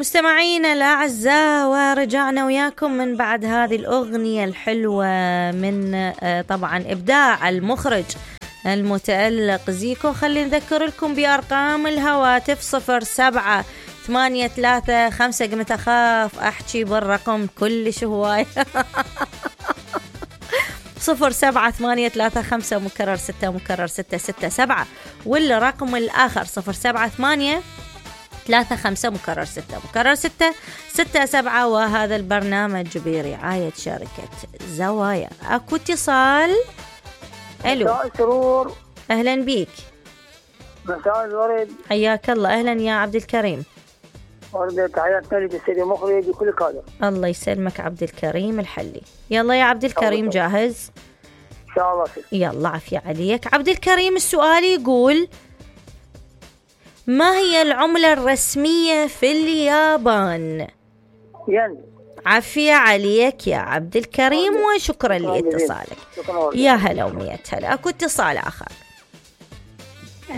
مستمعينا الأعزاء، ورجعنا وياكم من بعد هذه الأغنية الحلوة من طبعا إبداع المخرج المتألق زيكو. خلي نذكر لكم بأرقام الهواتف 078335. قمت أخاف أحكي بالرقم كلش هواي 078335 مكرر 6 مكرر 667، والرقم الآخر 078335 مكرر 6 مكرر 667. وهذا البرنامج برعاية شركة زوايا. أكو اتصال. ألو. مساء سرور. أهلا بيك. مساء الورد. حياك الله. أهلا يا عبد الكريم. ورد تحياتنا للسيد المخرج وكل كادر. الله يسلمك عبد الكريم الحلي. يلا يا عبد الكريم جاهز؟ إن شاء الله. يلا عافية عليك عبد الكريم. السؤال يقول: ما هي العملة الرسمية في اليابان؟ ين. عافية عليك يا عبد الكريم، وشكرا لاتصالك. يا هلا ومية هلا. أكو اتصال آخر.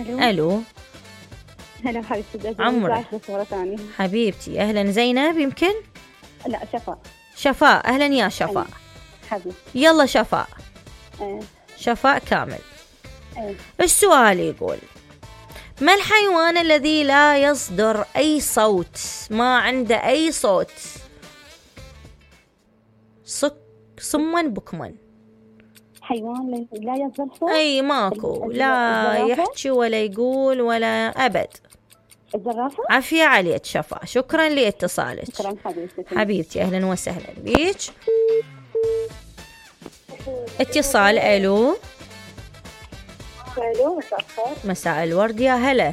ألو. هلا حبيبتي. عمرك حبيبتي. أهلا. زينب يمكن؟ لا شفاء. شفاء. أهلا يا شفاء. حبيبتي. يلا شفاء. شفاء كامل. السؤال يقول: ما الحيوان الذي لا يصدر أي صوت، ما عنده أي صوت؟ صما بكما. حيوان لا يصدر صوت؟ أي ماكو، لا يحكي ولا يقول ولا أبد. الزرافة. عافية عليك شفاء، شكرا لاتصالك. شكرا حبيبتي. أهلا وسهلا بيك. اتصال. ألو. ألو. مساء الخير. مساء الورد. يا هلا.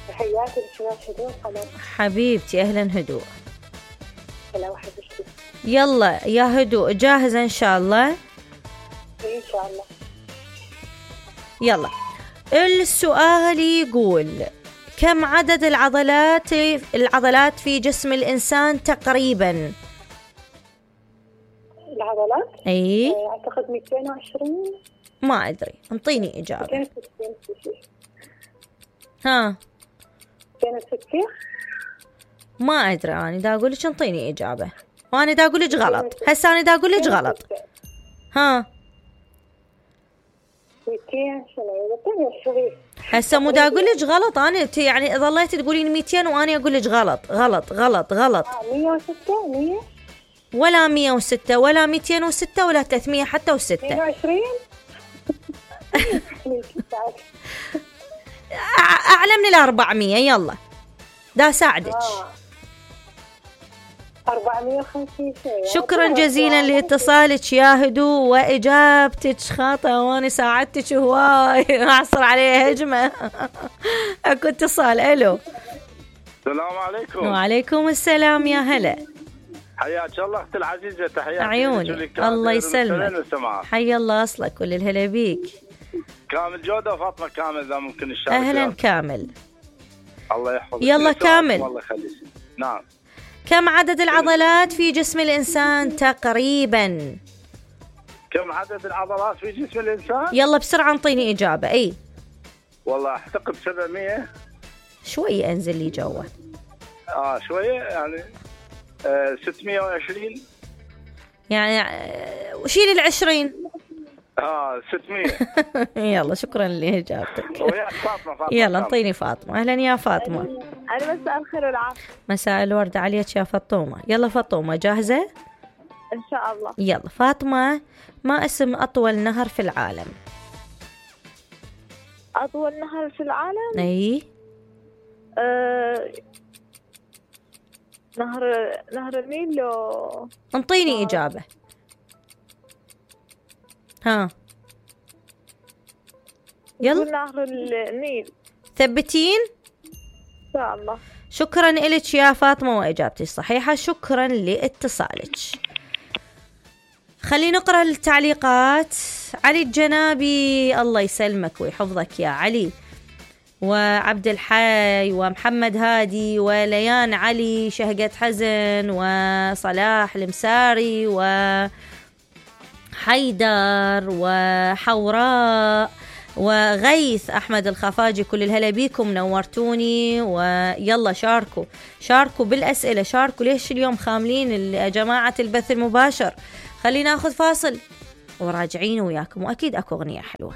تحياتي لشباب هدوء قلم. حبيبتي. أهلا هدوء. هلا وحبيبتي. يلا يا هدوء، جاهزة إن شاء الله؟ إن شاء الله. يلا. السؤال يقول: كم عدد العضلات في جسم الإنسان تقريبا؟ العضلات؟ أي أعتقد 220. ما أدري، انطيني إجابة. 260. ها 260. ما أدري، أنا دا أقولك انطيني إجابة، وأنا دا أقولك غلط. هسه أنا دا أقولك غلط. ها 220. هسه مو دا أقولك غلط. أنا يعني ظليت تقولين 200 وأنا أقولك غلط غلط غلط غلط. 106. 100 ولا 106 ولا 206 ولا 300 حتى و6. 22. أعلى من 400. يلا دا ساعدك. 450 شيء. شكرا جزيلا لاتصالك يا هدوء، وإجابتك خاطئة، وأنا ساعدتك هواي أعصر عليها هجمة. أكو اتصال. ألو. السلام عليكم. وعليكم السلام. يا هلا. حياك الله أختي العزيزة. تحياتي عيوني. الله يسلمك. حي الله أصلك. كل الهلا بيك. كامل جودة وفاطمة كامل إذا ممكن الشارك. أهلا كامل. الله يحفظك. يلا كامل. الله يخليك. نعم. كم عدد العضلات في جسم الإنسان تقريبا؟ كم عدد العضلات في جسم الإنسان؟ يلا بسرعة انطيني إجابة. أي والله أعتقد 700. شوية أنزل لي جوا. شوية يعني 620 يعني. وشيل 20. 600. يلا شكرا لإجابتك. وياك فاطمة. يلا انطيني فاطمة. أهلا يا فاطمة. أنا مساء الخير والعافية. مساء الورد عليك يا فاطمة. يلا فاطمة جاهزة؟ إن شاء الله. يلا فاطمة، ما اسم أطول نهر في العالم؟ أطول نهر في العالم؟ أي نهر النيل. انطيني إجابة. ها يلا. نهر النيل. ثبتين إن شاء الله. شكرا إلك يا فاطمة، وإجابتي صحيحة. شكرا لاتصالك. خلينا نقرأ التعليقات. علي الجنابي، الله يسلمك ويحفظك يا علي، وعبد الحي، ومحمد هادي، وليان علي، شهقة حزن، وصلاح المساري، وحيدر، وحوراء، وغيث أحمد الخفاجي، كل الهلا بيكم، نورتوني. ويلا شاركوا بالأسئلة، شاركوا. ليش اليوم خاملين يا جماعة البث المباشر؟ خلينا ناخذ فاصل وراجعين وياكم، وأكيد أكو أغنية حلوة.